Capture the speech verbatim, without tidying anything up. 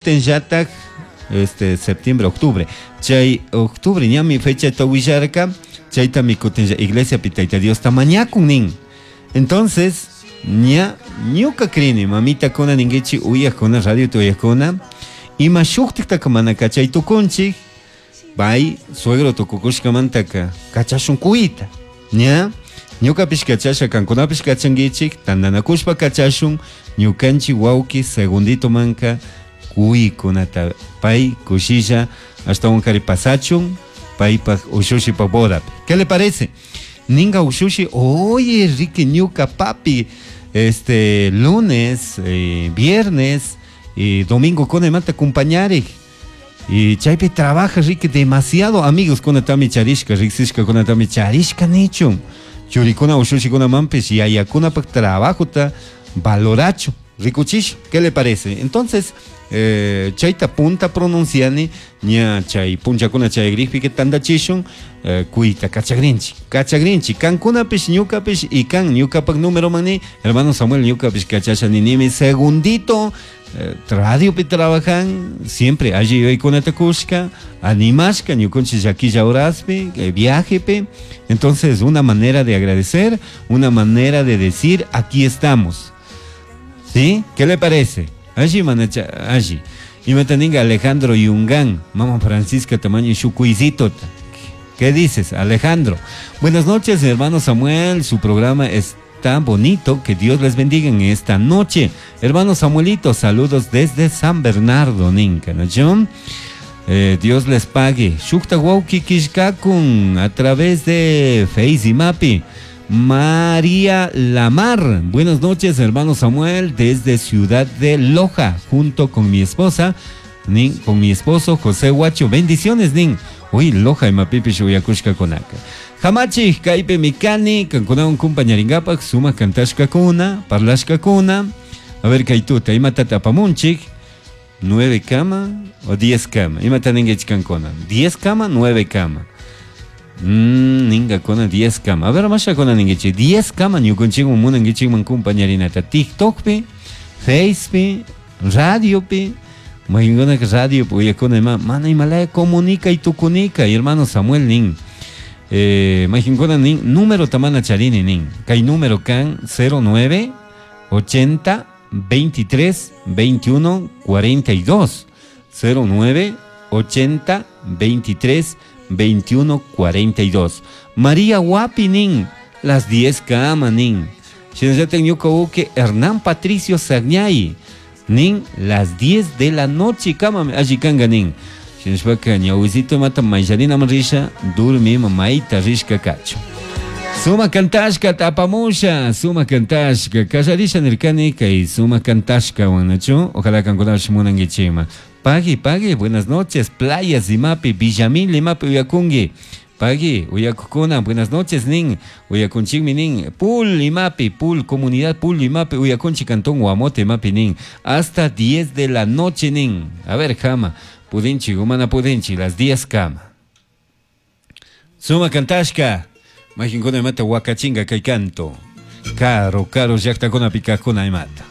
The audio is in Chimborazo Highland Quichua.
Kutinllatak este septiembre, octubre. Chay octubre ñami fecha willarka, chaytami kutinlla iglesia pi Tayta Diosta mañakun nin. Entonces, ña ñuka crini, mamita kuna ninguichi uyakuna, radio uyakuna, ima shuktiktaka mana kachay tukunchik, pay suegro tukukushkamantaka kachashun kuyta, ña ñukapish kachasha kankunapish kachankichik, tantanakushpa kachashun, ñukanchik wawki segundito manka kuykunata pay kushilla ashtawankari pasachun paypak ushushipak bodapi. ¿Qué le parece? Ninga ushushi, oye Ricky ñuka papi, este lunes, eh, viernes y domingo kunamanta acompañarik. Y chaypi trabaja Ricky demasiado amigos kunatami charishka, riksishka kunatami charishka nichun. Churikuna ushushikunamanpish yayakunapak trabajota valorachu, rikuchish, ¿qué le parece? Entonces, eh, chayta punta pronunciani ña chay punchakuna chay grippi tandachishun eh, kuyta kachagrinchik kachagrinchik kankunapish ñukapish y kan ñukapak número mani hermano Samuel ñukapish kachasha ninimi segundito eh, radiopi trabajan siempre allí yuyaykunata kushka animashka ñukunchik llaquilla horaspi eh, viajepi. Entonces, una manera de agradecer, una manera de decir aquí estamos. ¿Sí? ¿Qué le parece? Allí, manacha, allí. Y me teninga Alejandro Yungán, mamá Francisca tamaño shukuizito. ¿Qué dices, Alejandro? Buenas noches, hermano Samuel. Su programa es tan bonito. Que Dios les bendiga en esta noche. Hermano Samuelito, saludos desde San Bernardo, Ninca, ¿no? Eh, Dios les pague. Shukta wawki kishkakun a través de Face y Mapi. María Lamar. Buenas noches, hermano Samuel, desde Ciudad de Loja, junto con mi esposa, nin, con mi esposo José Huacho. Bendiciones, nin. Uy, Loja imapipish uyakushka kunaka. Hamachi, kaypi mikani, kankunawan kumpañaringapak, sumak kantashkakuna, parlashkakuna. A ver, kaytuta, imatata apamunchik, nueve kama o diez kama. Imata ninguichik kankuna. Diez kama, nueve kama. Mm, ninga kona diez kama. A ver, masha kona ninguichik. Diez kama ñukunchikman munankichikman kumpañarinata. TikTokpi, Facepi, radiopi. Mayinkunaka radio uyakuna ima mana imalaya comunica y tukunika. Y hermano Samuel nin. Eh, mayjinkuna nin número tamana charini nin. Kay número kan cero nueve ochenta veintitrés veintiuno cuarenta y dos. cero nueve ochenta veintitrés veintiuno cuarenta y dos. María Guapi nin, las diez kama nin. Shinallata ñuka uke Hernán Patricio Sagñay nin, las diez de la noche kama alli kanga nin. Shinashpaka ñawisito mata mayllarina risha, durmi mamayta rishka kacho. Suma kantashka tapamusha, suma kantashka, kallarisha nirkani kay suma kantashka wanachu, ojalá kankunapish munankichikman. Pagui, pagui, buenas noches, playas imapi, Villamil imapi uyakungi. Pagui, uyakukuna, buenas noches nin, uyakunchikmi nin, Pul imapi, Pul, comunidad Pul imapi, uyakunchi cantón Guamote imapi nin, hasta diez de la noche nin. A ver, jama, pudinchi, humana pudinchi, las diez kama. Suma kantashka, majinkuna imata wakachinga kay canto. Caro, caro, llaqtakuna pikakuna imata.